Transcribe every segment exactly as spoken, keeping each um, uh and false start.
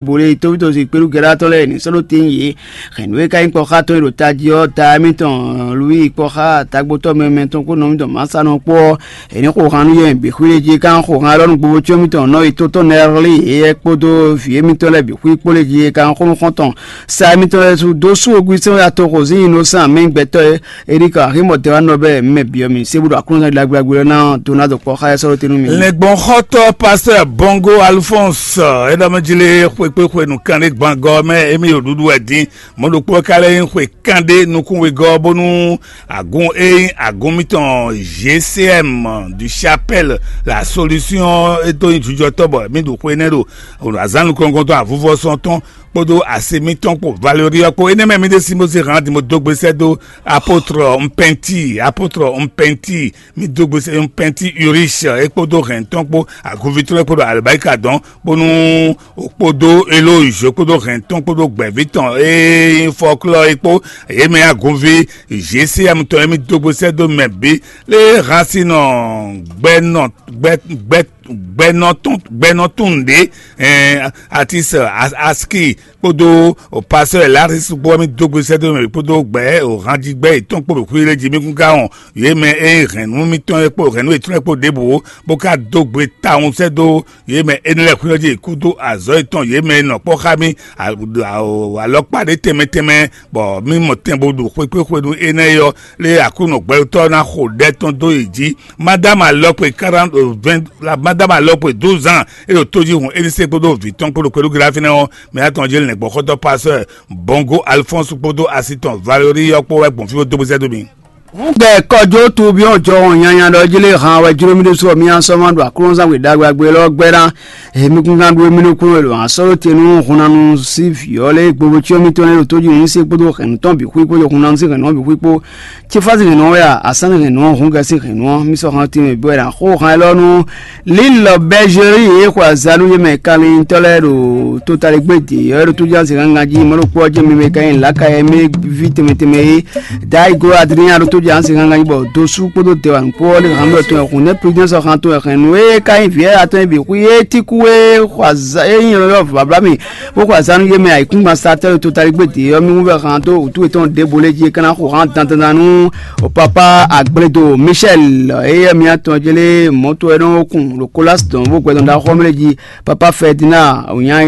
Bole tóbítɔ́ si kpéɖú gɛ́ɖátɔ́ lɛ́ɛ ní sɔ́ ɖó tɛ́ntin yě. Hɛ̌nnu e ka nyí kpɔ́ xá tɔn e ɖo tají ɔ́, ta émítɔn Lwíi kpɔ́ xá tagbotɔ́ mɛmɛ tɔn kpó nɔví tɔn Masa nɔ kpó ɔ́, è nǐ xo han nú yɛ bǐ xwí lé jí, é ka nɔ xo han élɔ́ nú gbogbo cyɔ́n mitɔn nɔ yi to tɔn Nɛrlí éyɛ́ kpódó vǐ émítɔn lɛ́ɛ bǐ xwí kpó lé jí, é ka nɔ xó nú xɔ́ntɔn sa émítɔn lɛ́ɛ su dó sú ogun sɛ́n atɔn xo sín yi nɔ sán amɛ gbɛtɔ́ é. Erika Aximɔ tɛn wá nɔ bɛ mɛ byɔ́ mi sé bó ɖo Aklúnɔzán ɖagbe ɖagbe ɔ́ ná dó ná dɔ kpɔ́ xá ɛ sɔ́ ɖó te nú mi. Lɛngbɔn xɔ́tɔ́ pastɛ́ Bɔngo Alphonse é ɖɔ mɛ jí lé xwekpéxwe nǔkanɖé gbangɔ mɛ émí ɖo ɖuɖu wɛ dín. Mɔ̌ ɖokpó ɔ́ ka lɛ́ nyí xwe kanɖé nukúnwegɔ́ bónú agún e nyí agún mitɔn G C M du Chapelle la Solution é dó nyí jujɔtɔ́ bɔ mǐ ɖo xwe énɛ́ ɖo azǎn nukɔn tɔn avuvɔsɔn tɔn kpódó asi mitɔn kpó Valérie ɔ́ kpó. Énɛ́ mɛ mǐ ɖésú mɔ se hǎn din bó dó gbe sɛ́ dó apôtre Mpɛnti, apôtre Mpɛnti, mǐ dó gbe sɛ́ Mpɛnti Urich é kpódó hɛn tɔn kpó agunví tɔn é kpódó alibáyíká dɔn bónú kpódó Elóyè kpódó hɛn tɔn kpódó gbɛ̌ví tɔn e nyí fɔklɔ́ é kpó yě mɛ agunví G C M tɔn e mǐ dó gbe sɛ́ dó mɛ bǐ lé hán sín nɔ gbɛnɔ gbɛ gbɛ gbɛnɔ tún gbɛnɔ tún ɖě, ɛn, Atis Aski kpódó pasteur Laris kpó mì dó gbe sɛ́ dó mɛ kpódó gbɛ hanjigbɛ yětɔn kpó xwí lé jí mì kún ká wɔn yě mɛ e hɛn nú mitɔn é kpó hɛn nú yětɔn é kpó ɖěbǔ bó ká dó gbe tawun sɛ́ dó yě mɛ énɛ́ lɛ́ɛ xwí ɔ́ jí kúdó azɔ̌ yětɔn yě mɛ e nɔ kpɔ́ xá mì alɔkpa ɖé tɛnmɛ tɛnmɛ bɔ mì mɔ tɛn bó ɖo xwekpéxwenu énɛ́ é ɔ́ lé Aklúnɔ gbɛtɔ́ ná xo ɖɛ tɔn dó yě jí. Madame alɔkpe quarante vingt, madame alɔkpe douze ans é ɖo tó jí hun Elise kpódó vǐ tɔn kpódó kpɛɖú gilafínɛ ɔ́, mɛ atɔn jí lɛ̌ngbɔ́xɔ́tɔ́ pasteur Bongo Alphonse kpódó asi tɔn Valérie ɔ́ kpó wɛ gbɔn fí bó dó bó sɛ́ dó mi. Hǔn gbɛ kɔjó tubyɔ́n jɔhɔn nyanya ɖɔ jí lé han wɛ jló mì ɖésú ɔ́, mì ná sɔ́ ma ɖo Aklúnɔzán we ɖagbe ɖagbe élɔ́ gbɛ́ ná. He mi kún gán ɖó émí nukúnnú e ɖo asɔ́lótenú hunnanu sín vǐ ɔ́ lɛ́ɛ gbogbo cyɔ́ mitɔn lɛ́ɛ ɖo tójí nǔ sí kpódó hɛ̌nnu tɔn bǐ xwí kpódó hunnanu sín hɛ̌nnu ɔ́ bǐ xwí kpó. Cífá sín hɛ̌nnu ɔ́ wɛ a, asán sín hɛ̌nnu ɔ́, hǔn gɛ sín hɛ̌nnu ɔ́, mì sɔ́ han tín mɛ bɔ è nǎ xo han élɔ́ nú Lilɔ Bɛ́zheri e xo azǎn nú yě mɛ kanlintɔ́ lɛ́ɛ ɖo totaligbé dě ɔ́, é ɖo tójí asi gangan jí, mɔ̌ ɖokpó ɔ́ jɛ́n mi mɛ ka nyí lǎkayɛ mɛ ví tɛnmɛ tɛnmɛ é. Dayi glo Adriyán ɖo tójí asi gangan jí bɔ dosú kpódó dɛwǎn kpó ɔ́ lé han mɛ tɔn ɛ hǔn nɛ́ Prudence ɔ́ han tɔn ɛ hɛn nǔ e ka nyí vǐ atɔn e bǐ xwí é tíkú é xɔ azǎn é nyí nyɔ̌ɖɔ́ vǎvlá mì bó xɔ azǎn nú yé mɛ ayǐkúngban satɛ́ e totaligbé dě ɔ́ mì wú vɛ han dó wǔtu yětɔn ɖěvo lɛ́ɛ jí é ka ná xo han dandan ná nú papa Agbledo Michel éyɛ́ mǐtɔn jlé mɔ̌to ɛ nɔ kun ɖo Kolas dɔn bó gbɛdɔn ɖaxó mɛ lɛ́ɛ jí. Papa Ferdinand wònya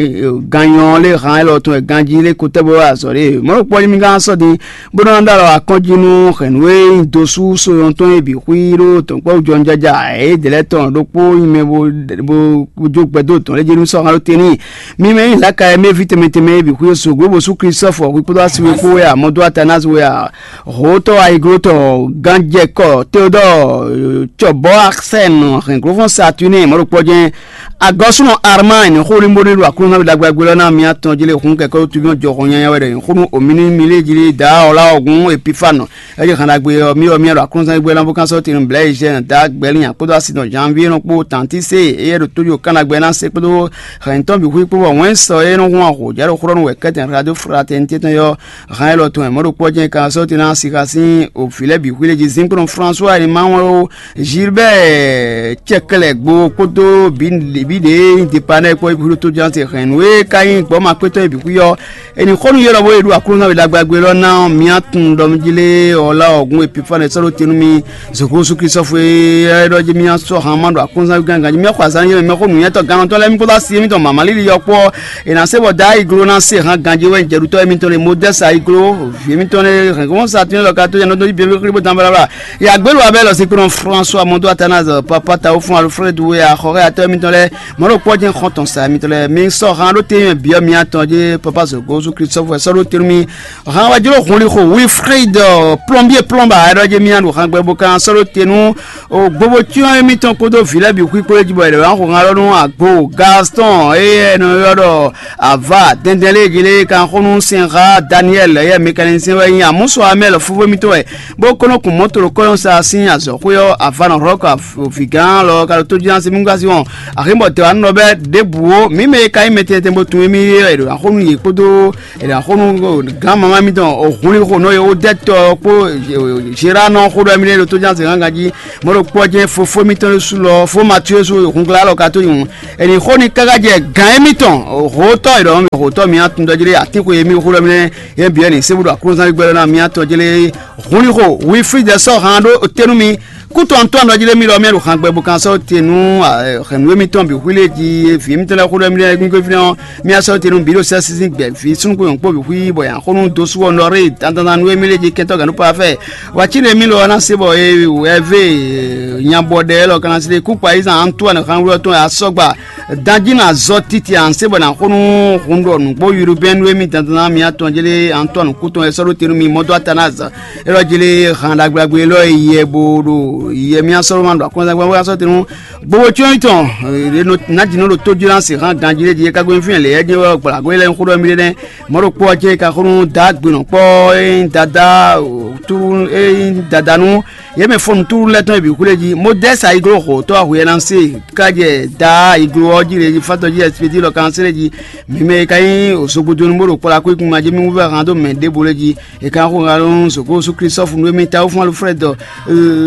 ganyɔ lé han élɔ́ tɔn e ganjí lé kotɛ́ bó wá azɔ̌ ɖé mɔ̌ ɖo kpɔ́ mi gán sɔ́ din bó nɔ́ ɖó alɔ akɔ́njí nú hɛ̌nnu e nyí dosú soyɔn tɔn e bǐ xwí ɖó dɔ̌nkpɔ́ jɔnjɔja é dě lɛ́ɛ tɔn ɖokpó nyí mɛ bó bó jó gbɛdó dɔn lé jí nú sɔ́ han ɖó te n'i. Mi mɛ nyí lǎka e mɛ ví tɛnmɛ tɛnmɛ e bǐ xwí e soglo bó sú Klistɔ́fɔ hwi kpódó asi we kpó wɛ a, mɔdó Atanás wɛ a, hǒtɔ́ ayiglótɔn gánjɛkɔ Teodɔ́ɔ cɔbɔ́ Arsɛn hɛ̌nglófɔ́n Saturnin mɔ̌ ɖo kpɔ́ jɛ́n. Agɔ́súnɔ Armán xó ní bónú ɖo Aklúnɔzán ɖagbe ɖagbe lɔ ná mi atɔn jí lé hun kɛkɛ tuvínɔ jɔhɔn nyanya wɛ ɖɔ xó nú omínú milé jí dǎ ɔ́ lá ɔ́gún Epifánu. É jí han ɖagbe ɔ́, mì ɔ́ mì ɖo Aklúnɔzán gbé ná bó kán sɔ́ tinu blɛ̌ yi jɛ́n dǎ gbɛlín kpódó asi nɔ Janvier nɔ kpó tantí sé éyɛ́ ɖo tójú kánɖagbe ná sé kpódó hɛ̌ntɔn bǐ xwí kpó bɔ wɛ̌n sɔ é nɔ hun ahǒjá ɖo xlɔ́ nú wɛ kɛ́tɛn radio fraternité tɔn yɔ́. Han élɔ́ tɔn e mɔ̌ ɖokpó ɔ́ jɛ́n kan sɔ́ te ná sixa sín òvǐ lɛ́ɛ bǐ xwí lé jí zínkplɔ́n François e ma wɔn ó Gilbert Cɛklɛgbo kpódó bǐ ɖě dépanɛ́ kpó é bǐ xwí ɖo tójánse hɛ̌nnu e ka nyí gbɔ̌makpétɔ́ e bǐ xwí ɔ́. È nǐ xɔ nú yě lɔ bó e ɖo Aklúnɔzán we ɖagbe ɖagbe lɔ ná ɔ́, mǐ tunwun ɖɔ mí jí lé ɔ́ lá ɔ́ gún Epifane sɔ́ ɖó te nú mì. Zoxósu Klistɔfu e é ɖɔ jí mì sɔ́ han ma ɖo aklúnzán gángan jí mì xɔ azán yé mɛ mɛ xó nǔnywɛ́tɔ́ gannɔtɔ́ lɛ́ɛ mì kpódó asi mì tɔn mama líli yɔkpɔ́ è nǎ se bɔ da ayiglo ná se han ganjí wɛ jɛɖutɔ́ émítɔn lé Modɛ́si ayiglo vǐ émítɔn lé hɛ̌ngbɔ́n sa tún lɔ ka tó yɛ nɔdɔn jí běbí xlí bó dán blábla. Yàgbélú abẹ́ lɔ sí kpɔ́n François Mɔdó Athanase papa tawo fún Alfred wɛ axɔxɛ atɔ́ émítɔn lɛ́ɛ mɔ̌ ɖo kpɔ́ jɛ́n xɔ́ntɔn sa émítɔn lɛ́ɛ mi sɔ́ han ɖó téyɔn bǐ ɔ́ mi atɔn jí papa zǒgó sú Klistɔ́fu wɛ sɔ́ ɖó te nú mi. Hán wɛ jló hun lixo Wilfrid plɔnbié plɔnba ɛɖɔ jɛ mía ɖo hangbe bó kan sɔ́ ɖó te nú gbogbo cyɔ́n émítɔn kpódó vǐ lɛ́ɛ bǐ xwí kpó é jí bɔ è ɖě wá xo hán lɔ nú agbo Gaston eye è nɔ ylɔ́ ɖɔ ava dɛndɛn lé jí lé kan xó nú sɛnxá Daniel eye mécanicien wɛ nyí amúsɔ amɛ lɔ fúfú émítɔn wɛ bó kɔ́ nɔ kun mɔ̌to ɖo kɔ́yɔ́n sa sín azɔ̌xwé ɔ́ ava nɔ hlɔ́ kɔ vǐgán lɔ ka ɖo tó jí ná sí mú gásí wɔn axínbɔ tɛwá nɔ bɛ ɖěbǔ ó mǐ mɛ e ka nyí mɛ tɛnmɛ tɛnmɛ bó tun émí é wɛ è ɖo axó nú yě kpódó È nǎ xo nú gǎn mamá mitɔn Ohlixonɔ e Odɛ́tɔ ɔ́ kpó Gérard nɔ xó ɖɔ mì ɖo tó ján zɛ̌n gángan jí. Mɔ̌ ɖo kpɔ́ jɛ́n fofó mítɔn ɖo sú lɔ fó Matíu sú hungla alɔ ka tó yi hǔn. Ɛnì xó ni káká jɛ gǎn émítɔn hǒtɔ́ e ɖɔ hǒtɔ́ mǐ atundɔ́ jí ɖé atínxwe e mì xó ɖɔ mì nɛ́ yɛn bǐ ɛnì sébú ɖo aklúnzán gbɛɖɔ ná mǐ atɔn jí lé. Hun ní xo Wilfrid sɔ́ han ɖó te nú mi. Kútɔn tɔn nɔ jí lé mì ɖɔ mì ɖo han gbɛ bo kan sɔ́ te nú hɛ̌nnu émítɔn bǐ xwí lé jí vǐ émítɔn lɛ́ɛ xó ɖɔ mì ɖɔ gbígbé fínɛ́ ɔ́. Mía sɔ́ te nú bǐ ɖo sɛ́sízín gbɛ̌ vǐ súnnu kpó nyɔ̌nu kpó bǐ xwí bɔ yǎ xó nú dó sú ɔ́ nɔ ré dandan nú émí lé jí kɛntɔ́ gǎn nú pafɛ. Wǎ cí ɖe mì lɔ ná se bɔ é wɛ vé nyabɔ ɖɛ élɔ́ kana se kú kpa yízan Antoine xánwúlɔ tɔn asɔgba danjí na zɔ titi an se bɔ ná xó nú hun ɖɔ nǔgbó yurubɛn nú émí dandan ná mía tɔn jélé Antoine kú tɔn é sɔ́ ɖó te nú mi mɔdó Athanase élɔ́ jélé han ɖagblagbe élɔ́ e yɛ bo ɖo yɛ mía sɔ́ ma ɖo akɔnzagba wá sɔ́ te nú gbogbo cyɔ́n tɔn. Nǎjínɔ ɖo tójúlánsi hán ganjí ɖé jí é ka gbé fínɛ́ lě é jɛ wɛ gblagbó lɛ́ɛ xó ɖɔ mì ɖé nɛ́. Mɔ̌ ɖokpó ɔ́ jɛ é ka xó nú dǎ gbenɔ̌kpɔ́ é nyí dadá túrú é nyí dadá nú yě mɛ fɔ́nú túrú lɛ́ɛ tɔn e bǐ xwlé jí. Modɛ́si ayiglo xo tɔ́ ahwe ɛ ná se ká jɛ dǎ ayiglo ɔ́ jí lě jí fátɔ́ jí ɛsipéjí lɔ kan séré jí. Mǐ mɛ e ka nyí òsogbodonu bó ɖo kplɔ́ akwékun ma jí mì wú vɛ́ han dó mɛ ɖěbǔ lé jí. È kan xo ha lɔn soko su Klistɔfu nú émí ta wúfún Alfrɛd.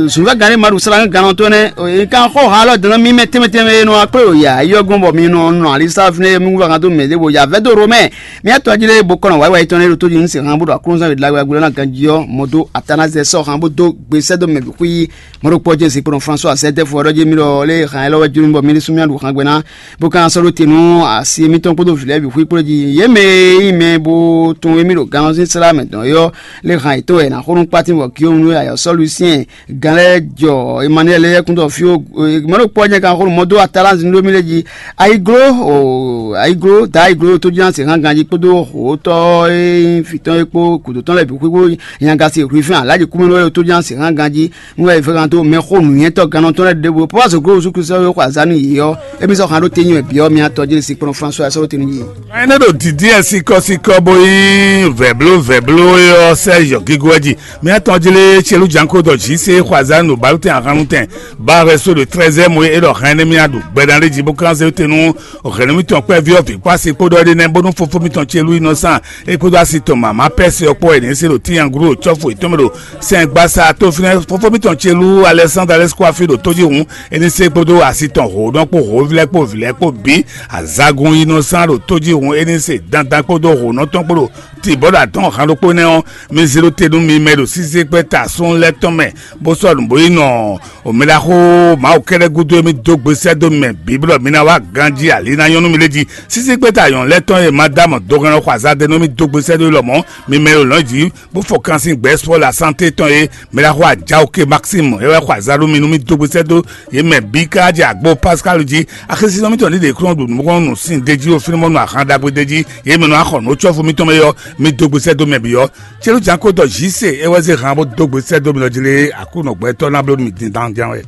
Zunvɛ́ gǎn ɖé ma ɖo sala gán gán tɔn nɛ́. È kan xo ha lɔ dɔn mí mɛ tɛnmɛ tɛnmɛ e nɔ akpé o ya yɔ gbɔn bɔ mi nɔ nɔ ali sa fínɛ́ mi wúvɛ kan dó mɛ ɖěvo ya vɛ́ dó Romɛ. Mía tɔn jí lé bo kɔnɔ wáyé wáyé tɔn lé ɖo tó jí ní se han bó ɖo aklúnzán wědla wɛ gbló ná ganjí ɔ́ mɔ dó Atanazɛ sɔ han bó dó gbe sɛ́ dó mɛ bǐ xwí. Mɔ ɖo kpɔ́ jɛ́n se kplɔn François Azɛdɛfu ɔ́ ɖɔ jí mi ɖɔ lé han élɔ́ wɛ jló mi bɔ mi ní sú mía ɖo han gbɛ ná. Bó ka sɔ́ ɖó te nú asi émítɔn kpódó vǐ lɛ́ɛ bǐ xwí kplɔ́ jí. Yě mɛ e nyí mɛ bo tunwun émí ɖo gannɔsín slá mɛ dɔn é ɔ́, lé han yětɔn wɛ è nǎ xo nú kpátín bɔ Giyɔ́mu nú ayɔ̌sɔ́ Lusiyɛn gán lɛ́ɛ jɔ Emanuɛli lɛ́ɛ kúndɔ fí ó. Mɔ̌ ɖo kpɔ́ jɛ́n kan xó nú mɔ̌ dó Atalánti nú mì lɛ́ɛ jí. Ayiglo, ayiglo, da ayiglo tó jí ná se hán ganjí kpódó hǒtɔ́ e nyí vǐ tɔn é kpó gǔdo tɔn lɛ́ɛ bǐ xwíxwó nyagasi hwifɛ́n alájí kúmɛ lɛ́ɛ tó jí ná se hán ganjí. Nú wɛ è fɛ kan dó mɛxó nǔnywɛ́tɔ́ gannɔ tɔn lɛ́ɛ ɖěvo Pɔ́ɔ́ Glówu Yísu Klísu e xo azǎn nú yě ɔ́, émí sɔ́ han ɖó tényɔ bǐ ɔ́, mi atɔ́ jí ɖe sinkplɔ́n Flánsuwa sɔ́ ɖó te nú yě. Ɛnɛ ɖo dǐdí ɛ sikɔ́sikɔ́ bó nyí vɛ̌bló vɛ̌bló é ɔ́ sɛ́ yɔ̌gígó ɛ jí. Mi atɔ́ jí lé Celú Janko dɔ jǐ se xo azǎn ɖo balútɛn ahannutɛn ba hwɛ so ɖo trɛ́zɛ́mu e é ɖɔ hɛn énɛ́ mì aɖu gbɛɖán ɖé jí bó kán zé te nú hɛ̌nnu mitɔn kpɛ́ví ɔ́ vǐ kpó asi kpódɔ é ɖé nɛ́ bónú fofó mitɔn Celú yi nɔ sán é kpódó asi tɔn mama Pɛ́si ɔ́ kpó wɛ è nǐ se ɖo tínyaglú ɖo cɔ́fu yětɔn mɛ ɖo sɛngbasa tó fínɛ́. Fofó mitɔn ce lú Alɛsándre Alɛsikuafi ɖo tójihún é ní se kpódó asi tɔn hǒnɔ kpó hǒvlɛ́ kpó vǐlɛ́ kpó bǐ. Azagun yi nɔ sán ɖo tójihún é ní se dandan kpódó hǒnɔ tɔn kpó ɖo tibɔ́ ɖo adɔn han ɖokpó nɛ́ ɔ́, mi zé ɖó te nú mi mɛ ɖo sísí kpɛ́ ta sún lɛ́ɛ tɔn mɛ, bó sɔ́ nǔ bó yi nɔ. Omɛɖaxó Mawu kɛ́ɖɛ́ gúdo e mi dó gbe sɛ́ dó mɛ bǐ blɔ mi ná wá ganjí ali ná nyɔ́ nú mi lé jí. Sísí kpɛ́ ta nyɔ̌nu lɛ́ɛ tɔn e ma dó amɔ dohɛn ɔ́ xɔ azadɛ nú mi dó gbe sɛ́ dó lɔmɔ̌, mi mɛ e ɖo lɔ̌n jí bó fɔ kansin gbɛ̌ sɔ la sante tɔn e mɛ ɖaxó ajawo ke Maxime é wɛ xɔ azǎn nú mi nú mì dó gbesɛ dó yě mɛ bǐ ká jɛ agbo Pascal jí. Axésinɔ mitɔn ní ɖe kúnɔ ɖu nǔkɔn nú sin d'é jí o fínmɔ́ nú ahan ɖagbe d'é jí, yě mɛ nɔ axɔ nǔ cɔ́fu mitɔn mɛ yɔ, mi dó gbesɛ dó mɛ bǐ ɔ́. Célu jǎn ko dɔ Jise é wɛ zé han bó dó gbesɛ dó mi lɔ jí lé Aklúnɔ gbɛtɔ́ ná bló nú mi din dan ján wɛ.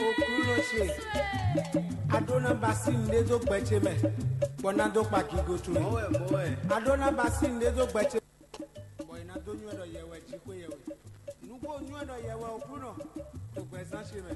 Oklúnɔ ce, a ɖó ná ba sí nǔɖé dó gbɛ ce mɛ, bɔ ná dó kpa gigo towe. A ɖó ná ba sí nǔɖé dó gbɛ ce mɛ, bɔ è nǎ dó nywɛ́ ɖɔ yɛ wɛ jí xwé yɛ wɛ. Nǔgbó nywɛ́ ɖɔ yɛ wɛ Oklúnɔ, ɖo gbɛzán ce mɛ.